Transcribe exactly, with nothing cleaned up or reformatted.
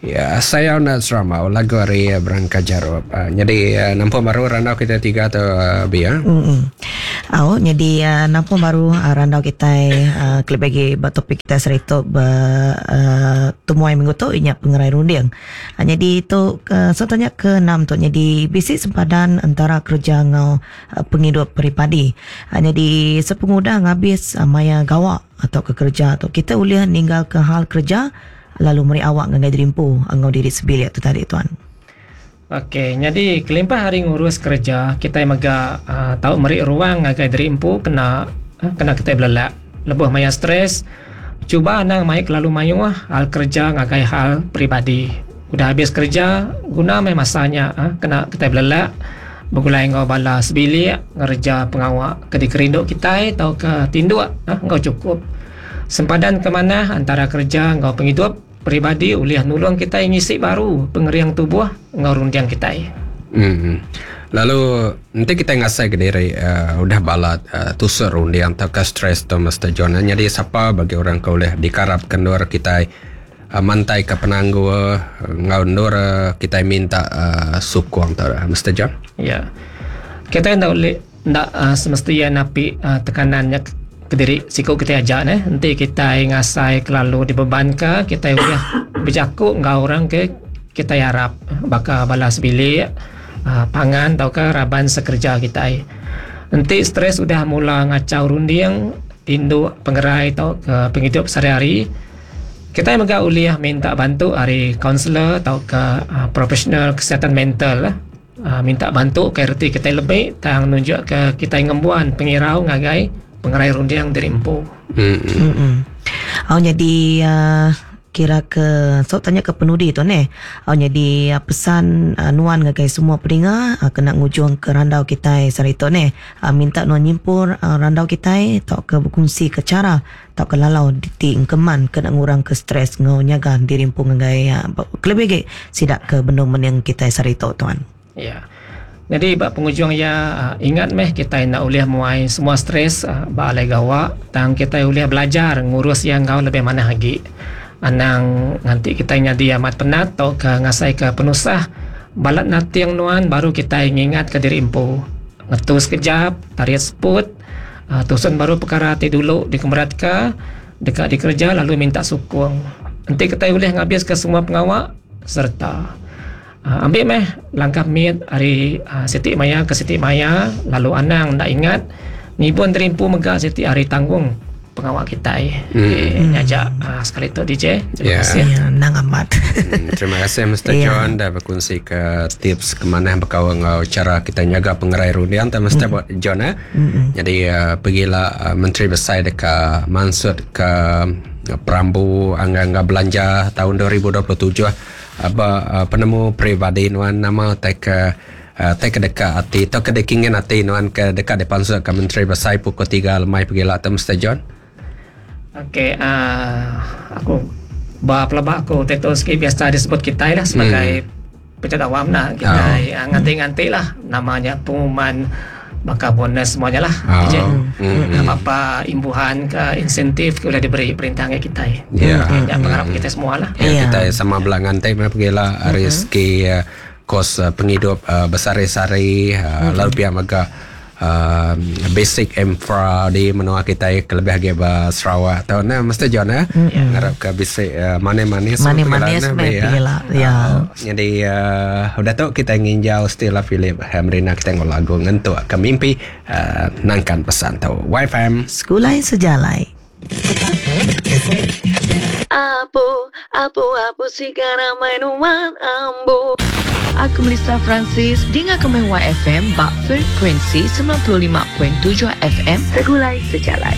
Ya, saya nak serama lagu hari berangkat jarup. Uh, jadi uh, nampak baru randau kita tiga tu uh, biar. Mm. Oh, jadi uh, nampak baru uh, randau kita uh, klip bagi topik kita serita ber uh, temuai minggu tu inya pengerai runding. Uh, jadi tu uh, so tanya ke enam tu jadi bisi sempadan antara kerja ngau uh, penghidup peribadi. Uh, jadi sepengudah ngabis uh, maya gawak atau ke kerja tu kita boleh ninggal ke hal kerja lalu meri awak ngangai dirimpu ngau diri sebilik tu tadi tuan. Okey, jadi kelimpah hari ngurus kerja, kita mega uh, tahu meri ruang ngagai dirimpu kena uh, kena kita belelak. Lebuh maya stres, cuba anang mai kelalu mayuh hal kerja ngagai hal peribadi. Udah habis kerja, guna mai masanya uh, kena kita belelak. Begulai ngau bala sebilik, ngerja pengawak ke dikerinduk kita atau ke tinduk uh, ngau cukup. Sempadan ke mana antara kerja ngau penghidup peribadi uliah nulung kita ngisi baru pengeriang tubuh ngau rundiang kita. Hmm. Lalu nanti kita ngasai ke diri uh, udah balat uh, tusur rundiang atau ke stres tu Mister John. Jadi siapa bagi orang ke boleh dikarap kendur kita uh, mantai ke penanggu uh, ngau ndur uh, kita minta uh, sukong tu Mister John. Ya. Kita ndak boleh ndak uh, semestinya napi uh, tekanannya kediri siku kita ajak ne nanti kita ngasai kelalu dibebankan kita boleh berjakuk ngau orang ke kita harap bakal balas bilik uh, pangan atau ke raban sekerja kita. Nanti stres sudah mula ngacau runding tinduk pengerai atau ke penghidup sehari-hari kita mega uliah minta bantu hari kaunselor atau ke uh, profesional kesihatan mental lah. Uh, minta bantu ke reti kita lebih tang nunjuk ke kita ngembuan pengirau ngagai pengerai rundiang dari empu. Hmm. Mm-mm. Oh, jadi uh, kira ke so tanya ke penudi tu ne. Oh, jadi uh, pesan uh, nuan ngagai semua peninga uh, kena ngujung ke randau kita sarito ne. Uh, minta nuan nyimpur uh, randau kita atau ke berkongsi ke cara atau ke lalau di engkeman kena ngurang ke stres ngau nyaga diri empu ngagai uh, kelebih ge sidak ke bendung meneng kita sarito tuan. Ya. Yeah. Jadi bak penghujung ya ingat meh kita nak boleh muai semua stres bak alai gawak tang kita boleh belajar ngurus yang kau lebih mana lagi. Anang nanti kita nyadi amat penat atau ke ngasai ke penusah balat nati yang nuan baru kita ingat ke diri empu. Ngetu sekejap, tarik seput, uh, tusun baru perkara ti dulu dikemerat ke dekat dikerja lalu minta sukong. Nanti kita boleh ngabis ke semua pengawak serta Uh, ambil meh langkah mid hari uh, Siti Maya ke Siti Maya lalu anang nak ingat ngibun terimpu mega Siti hari tanggung pengawak kita eh hmm. okay, ngajak uh, sekali tu D J. Terima yeah. kasih. Ya, nang amat. hmm, terima kasih Mister Yeah. John dah berkongsi ke tips ke mana berkawal ngau cara kita nyaga pengerai rundiang tak mesti buat John eh. Mm-mm. Jadi uh, pergilah uh, Menteri Besar dekat maksud ke uh, perambu angga-angga belanja tahun dua ribu dua puluh tujuh apa uh, penemu peribadi nuan nama tek uh, tek dekat hati atau ke dekingin hati nuan ke dekat depan surat ke Menteri Besar pukul tiga lemai pergilah tu Mister John. Okey, uh, aku ba pelabak aku teto sikit biasa disebut kita lah sebagai hmm. pejabat awam lah kita oh. nganti-nganti lah namanya pengumuman maka bonus semuanya lah. Oh. D J. Mm-hmm. Apa-apa imbuhan ke insentif ke boleh diberi perintah ke kita. Ya. Yeah. Ya, pengharap kita semua lah. Ya, yeah. kita sama belangan teh pergilah mm-hmm. rezeki uh, kos uh, penghidup uh, besar-sari uh, mm-hmm. lalu pihak mega uh, basic infra di menua kita kelebih lagi ba Sarawak atau nah mesti John eh mm-hmm. ngarap ke basic uh, manis-manis manis-manis pergilah ya. Uh, jadi uh, udah tu kita nginjau Stella Philip Hamrina kita ngol lagu ngentuk ke mimpi uh, nangkan pesan tau Y F M Sekulai sejalai. Apu, apu, apu sigara mainuan ambu. Aku Melissa Francis, dengar komen Y F M bak frekuensi sembilan puluh lima perpuluhan tujuh F M Segulai Sejalai.